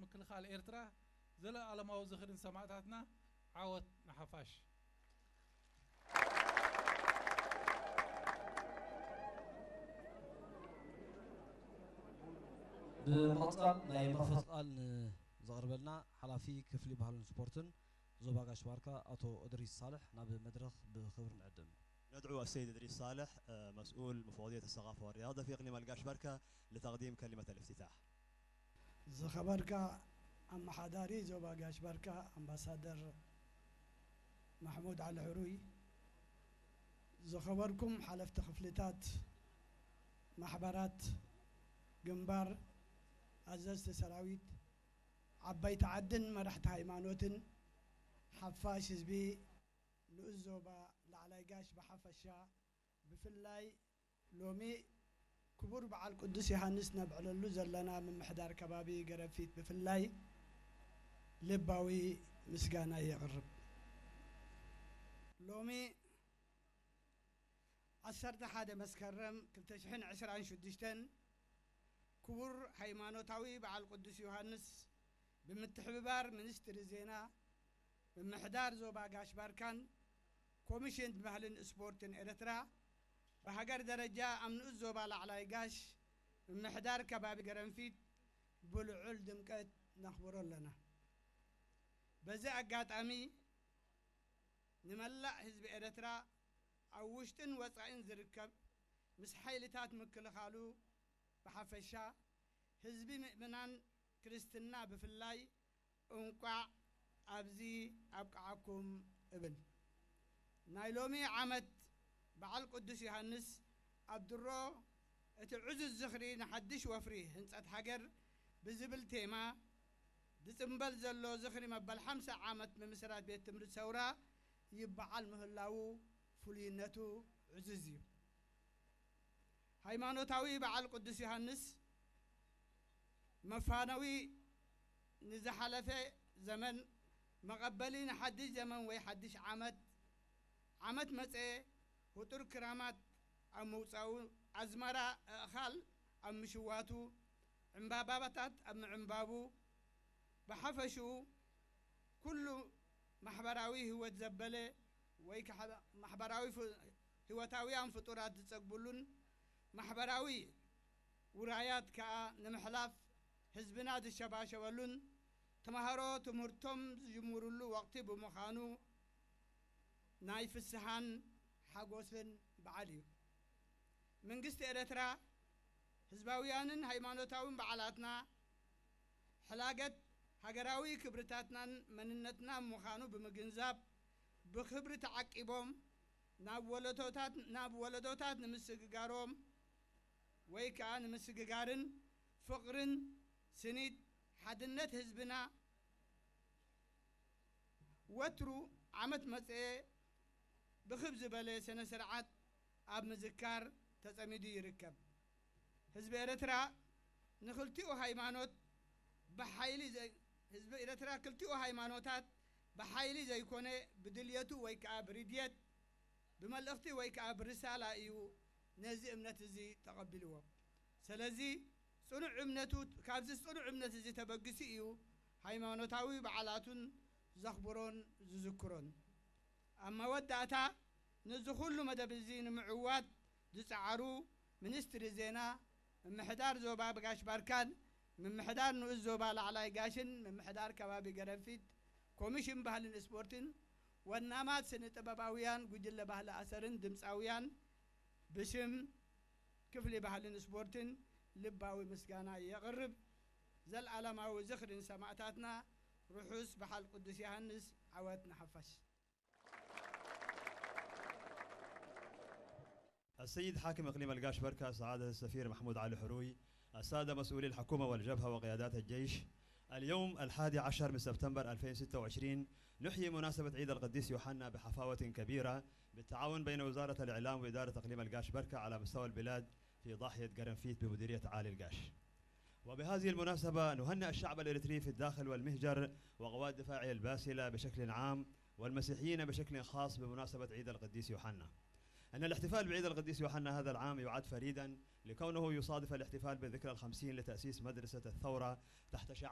ምክልኻል ኤርትራ ዘለኣለማዊ ዝኽሪ ንሰማእታትና። ዓወት ንሓፋሽ። ብምቕጻል ናይ መኽፈቲ ቃል ንዘቕርበልና ሓላፊ ክፍሊ ባህልን ስፖርትን ዞባ ጋሽ ባርካ ኣቶ እድሪስ ሳልሕ ናብ መድረኽ ብኽብሪ ንዕድም። ندعو السيد إدريس صالح، آه، مسؤول مفوضية الثقافة والرياضة في إقليم القاش بركة، لتقديم كلمة الافتتاح. ዝኸበርካ ኣመሓዳሪ ዞባ ጋሽ ባርካ ኣምባሳደር ማሕሙድ ዓሊ ሕሩይ፣ ዝኸበርኩም ሓለፍቲ ክፍልታት፣ ማሕበራት፣ ግንባር፣ ኣዘዝቲ ሰራዊት፣ ዓባይቲ ዓድን መራሕቲ ሃይማኖትን፣ ሓፋሽ ህዝቢ ንኡስ ዞባ ላዕላይ ጋሽ ብሓፈሻ፣ ብፍላይ ሎሚ ክቡር በዓል ቅዱስ ዮሃንስ ነብዕለሉ ዘለና ምምሕዳር ከባቢ ገረፊት ብፍላይ ልባዊ ምስጋና የቕርብ። ሎሚ ዓሰርተ ሓደ መስከረም ክልተ ሽሕን ዕስራን ሽዱሽተን ክቡር ሃይማኖታዊ በዓል ቅዱስ ዮሃንስ ብምትሕብባር ሚኒስትሪ ዜና፣ ምምሕዳር ዞባ ጋሽ ባርካን ኮሚሽን ባህልን ስፖርትን ኤርትራ ብሃገር ደረጃ ኣብ ንኡስ ዞባ ላዕላይ ጋሽ ምምሕዳር ከባቢ ገረንፊት ብልዑል ድምቀት ነኽብሮ ኣለና። በዚ ኣጋጣሚ ንመላእ ህዝቢ ኤርትራ ኣብ ውሽጥን ወጻኢን ዝርከብ ምስ ሓይልታት ምክልኻሉ ብሓፈሻ ህዝቢ ምእምናን ክርስትና ብፍላይ እንቋዕ ኣብዚ ኣብቅዓኩም እብል። ናይ ሎሚ ዓመት በዓል ቅዱስ ዮሃንስ ኣብ ድሮ እቲ ዕዙዝ ዝኽሪ ንሓድሽ ወፍሪ ህንጸት ሃገር ብዝብል ቴማ ዝጽምበል ዘሎ ዝኽሪ መበል ሓምሳ ዓመት ምምስራት ቤት ትምህርቲ ሰውራ ይበዓል ምህላዉ ፍሉይነቱ ዕዙዝ እዩ። ሃይማኖታዊ በዓል ቅዱስ ዮሃንስ መፋነዊ ንዝሓለፈ ዘመን መቐበሊ ንሓድሽ ዘመን ወይ ሓድሽ ዓመት ዓመት መጸ ህጡር ክራማት ኣብ ምውጻኡ ኣዝመራ ኣእኻል ኣብ ምሽዋቱ ዕምባባታት ኣብ ምዕምባቡ ብሓፈሽኡ ኩሉ ማሕበራዊ ህይወት ዘበለ ወይ ከዓ ማሕበራዊ ፍ- ህይወታውያን ፍጡራት ዝጸግብሉን ማሕበራዊ ውራያት ከኣ ንምሕላፍ ህዝብና ዝሸባሸበሉን ተማሃሮ ትምህርቶም ዝጅምሩሉ ወቕቲ ብምዃኑ ናይ ፍስሃን ሓጎስን በዓል እዩ። መንግስቲ ኤረትራ ህዝባውያንን ሃይማኖታውን በዓላትና ሕላገት ሃገራዊ ክብርታትናን መንነትናን ምዃኑ ብምግንዛብ ብኽብሪ ተዓቂቦም ናብ ወለዶታት ናብ ወለዶታት ንምስግጋሮም ወይ ከኣ ንምስግጋርን ፍቕርን ስኒት ሓድነት ህዝብና ወትሩ ዓመት መጸ ብኽብ ዝበለ ስነ ስርዓት ኣብ ምዝካር ተጸሚዱ ይርከብ። ህዝቢ ኤረትራ ንኽልቲኡ ሃይማኖት ብሓይሊ ዘይ ህዝቢ ኤረትራ ክልቲኡ ሃይማኖታት ብሓይሊ ዘይኮነ ብድልየቱ ወይ ከኣ ብርድየት ብመልእኽቲ ወይ ከኣ ብርሳላ እዩ ነዚ እምነት እዚ ተቐቢልዎ። ስለዚ ጽኑዕ እምነቱ ካብዚ ጽኑዕ እምነት እዚ ተበጊሱ እዩ ሃይማኖታዊ በዓላቱን ዘኽብሮን ዝዝክሮን። ኣብ መወዳእታ ነዚ ኩሉ መደብ እዚ ንምዕዋት ዝጸዓሩ ሚኒስትሪ ዜና፣ ምምሕዳር ዞባ ጋሽ ባርካን ምምሕዳር ንኡስ ዞባ ላዕላይ ጋሽን ምምሕዳር ከባቢ ገረንፊት፣ ኮሚሽን ባህልን ስፖርትን፣ ወናማት ስነ ጥበባውያን ጉጅለ ባህሊ ኣሰርን ድምጻውያን ብሽም ክፍሊ ባህልን ስፖርትን ልባዊ ምስጋና የቕርብ። ዘልኣለማዊ ዝኽሪ ንሰማእታትና። ርሑስ በዓል ቅዱስ ዮሃንስ። ዓወት ንሓፋሽ። السيد حاكم إقليم القاش بركة سعادة السفير محمود علي حروي، السادة مسؤولي الحكومة والجبهة وقيادات الجيش، اليوم الحادي عشر من سبتمبر ألفين وستة وعشرين نحيي مناسبة عيد القديس يوحنا بحفاوة كبيرة بالتعاون بين وزارة الإعلام وإدارة إقليم القاش بركة على مستوى البلاد في ضاحية قرنفيت بمديرية عالي القاش. وبهذه المناسبة نهنئ الشعب الإريتري في الداخل والمهجر وقوات دفاعه الباسلة بشكل عام والمسيحيين بشكل خاص بمناسبة عيد القديس يوحنا. أن الاحتفال بعيد القديس يوحنا هذا العام يعد فريدا لكونه يصادف الاحتفال بالذكرى الخمسين لتأسيس مدرسة الثورة تحت شعار